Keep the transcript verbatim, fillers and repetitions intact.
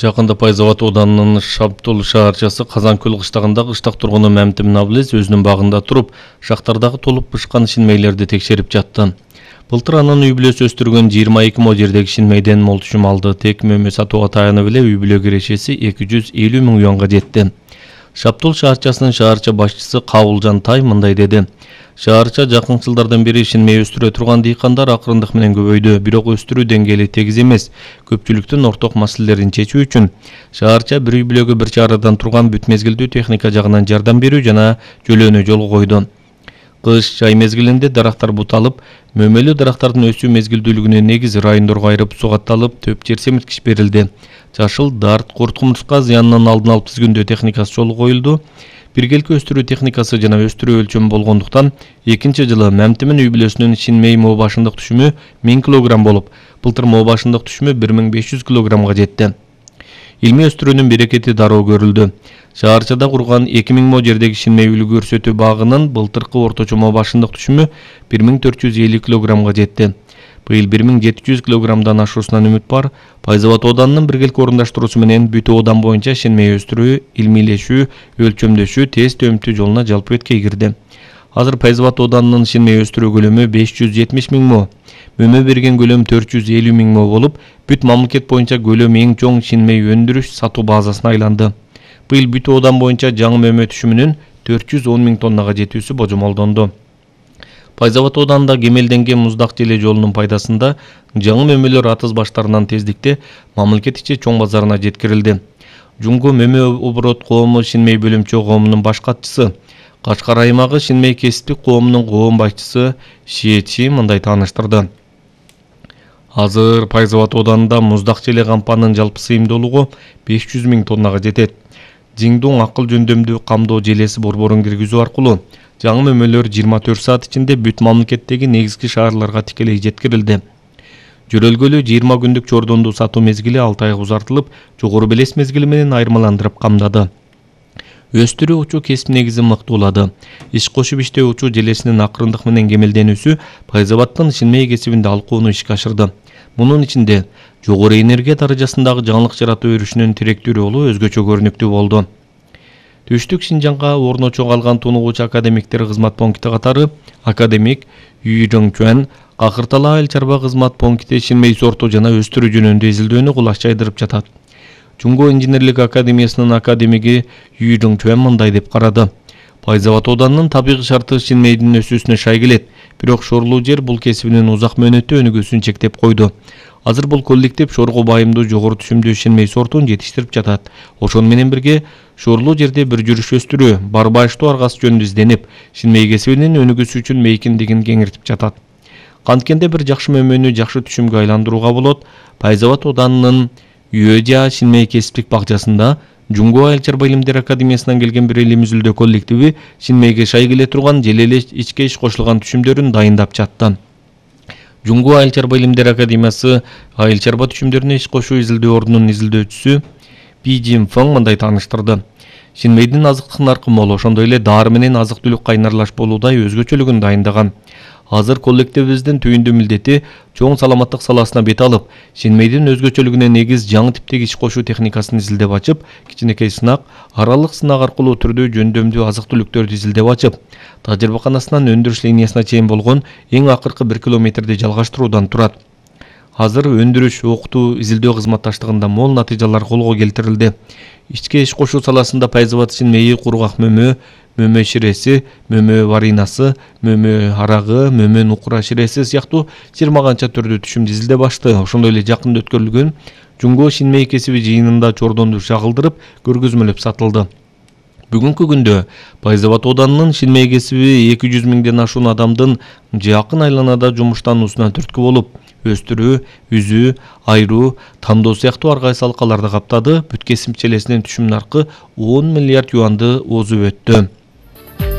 Жакында Пайзават ауданынын Шаптул шаарчасы Казанкөл кыштагындагы кыштак тургуну Мамтим Навлез өзүнүн багында туруп, шактардагы толуп бышкан шинмейлерди текшерип жатты. Былтыр анын үй бүлөсү өстүргөн жыйырма эки мо жердеги шинмейден мол түшүм алды. Тек мөмө сатууга таянып эле үй бүлө кирешеси эки жүз элүү миң юанга жетти. Шаптул шаарчасынын шаарча башчысы Кабылжан Тай мындай деди. Шаарча жакын жылдардан бери шинмей өстүрө турган дыйкандар акырындык менен көбөйдү, бирок өстүрүү деңгээли тегиз эмес. Көпчүлүктүн орток маселелерин чечүү үчүн шаарча бир үй бүлөгө бир чарадан турган бүт мезгилдүү техника жагынан жардам берүү жана жөлөөнү жолго койду. Кыш жай мезгилинде дарактар буталып, мөмөлүү дарактардын өсүү мезгилдүүлүгүнө негиз райондорго айырып сугатталып, төп жер семирткич берилди. Жашыл, дарт, курт кумурска зыянынын алдын алып тизгүндөө техникасы жолго коюлду. Биргелки өстүрүү техникасы жана өстүрүү өлчөмү болгондуктан экинчи жылы Мамтимин үй бүлөсүнүн шинмей мо башындык түшүмү миң килограмм болуп, былтыр мо башындык түшүмү бир миң беш жүз килограммга жетти. Илмий өстүрүүнүн берекети дароо көрүлдү. Шаарчада курган эки миң мо жердеги шинмей үлгү көрсөтүү багынын былтыркы орточо мо башындык түшүмү бир миң төрт жүз элүү килограммга жетти. Быйыл бир миң жети жүз килограммдан ашуусунан үмүт бар. Пайзават ауданынын биргелки орундаштыруусу менен бүт аудан боюнча шинмей өстүрүү, илмийлешүү, өлчөмдөшүү, тест өмтүү жолуна жалпы өткөй кирди. Азыр Пайзават ауданынын шинмей өстүрүү көлөмү беш жүз жетимиш миң мо, мөмө берген көлөм төрт жүз элүү миң мо болуп, бүт мамлекет боюнча көлөм эң чоң шинмей өндүрүш сатуу базасына айланды. Быйыл бүт аудан боюнча жаңы мөмө түшүмүнүн төрт жүз он миң тоннага жетүүсү божомолдонду. Пайзават ауданында кемелденген муздак желе жолунун пайдасында жаңы мөмөлөр атыз баштарынан тездикте мамлекет ичи чоң базарына жеткирилди. Жумго мөмө оборот коому шинмей бөлүмчө коомунун баш катчысы, Кашкар аймагы шинмей кесиптик коомунун коом башчысы Шиетчи мындай тааныштырды. Азыр Пайзават ауданында муздак желе кампанын жалпы сыйымдуулугу беш жүз миң тоннага жетет. Жиңдуң акыл жөндөмдүү камдоо желеси борборун киргизүү аркылуу жаңы мөмөлөр жыйырма төрт саат ичинде бүт мамлекеттеги негизги шаарларга тикелей жеткирилди. Жөрөлгөлүү жыйырма күндүк чордондуу сатуу мезгили алты айга узартылып, жогору белес мезгили менен айырмаландырып камдады. Өстүрүү учуу кесип негизин мыктуулады. Иш кошуп иштөө учуу желесинин акырындык менен кемелденүүсү Пайзаваттын шинмей кесибинде алкууну ишке ашырды. Мунун ичинде жогору энергия даражасындагы жаңылык жаратуу өрүшүнүн тиректүү ролу өзгөчө көрүнүктүү болду. Түштүк Шинжаңга орночо калган тунугучу академиктер кызмат пункти катары академик Үй Жоңчуан Какыртала айыл чарба кызмат пункти шинмей сорту жана өстүрүү жөнүндө изилдөөнү кулаш жайдырып жатат. Жумго инженерлик академиясынын академиги Үй Жоңчуан мындай деп карады. Пайзават ауданынын табигый шарты шинмейдин өсүүсүнө шай келет, бирок шорлуу жер бул кесибинин узак мөөнөттүү өнүгүүсүн чектеп койду. Азыр бул коллектив шорго байымдуу жогору түшүмдүү шинмей сортун жетиштирип жатат. Ошону менен бирге шорлуу жерде бир жүрүш өстүрүү, барбаштуу аргасы жөнүндө изденип, шинмей кесибинин өнүгүүсү үчүн мейкиндигин кеңиртип жатат. Канткенде бир жакшы мөмөнү жакшы түшүмгө айландырууга болот. Пайзават ауданынын Үйөжа шинмей кесиптик бакчасында Жумго айыл чарба илимдер академиясынан келген бир элүү мүзүлдөө коллективи шинмейге шай келе турган же эле ичке иш кошулган түшүмдөрүн дайындап жатты. Жумго айыл чарба илимдер академиясы айыл чарба түшүмдөрүнө иш кошуу изилдөө ордунун изилдөөчүсү Пи Жин Фэн мындай тааныштырды. Шинмейдин азыктык наркы мол, ошондой эле дары менен азык-түлүк кайнарлаш болуудай өзгөчөлүгүн дайындаган. Азыр коллективибиздин түйүндүү милдети чоң саламаттык саласына бет алып, шинмейдин өзгөчөлүгүнө негиз жаңы типтеги иш кошуу техникасын изилдеп ачып, кичинекей сынак, аралык сынак аркылуу түрдүү жөндөмдүү азык-түлүктөрдү изилдеп ачып, тажрыйбаканасынан өндүрүш линиясына чейин болгон эң акыркы бир километрди жалгаштыруудан турат. Азыр өндүрүш, окутуу, изилдөө кызматташтыгында мол натыйжалар колго келтирилди. Ичке иш кошуу саласында Пайзават шинмейи кургак мөмө, мөмө ширеси, мөмө варинасы, мөмө арагы, мөмө нукура ширеси сыяктуу жыйырма канча түрдүү түшүмдү изилдеп ачты. Ошондой эле жакында өткөрүлгөн Жумго шинмей кесиби жыйынында чордонду шагылдырып, көргөзмөлөп сатылды. Бүгүнкү күндө Пайзават ауданынын шинмей кесиби эки жүз миңден ашуун адамдын жакын айланада жумуштануусуна түрткү болуп, өстүрүү, үзүү, айруу, тандоо сыяктуу ар кайсы алкаларды каптады. Бүт кесип челесинин түшүм наркы он миллиард юанды оозуп өттү.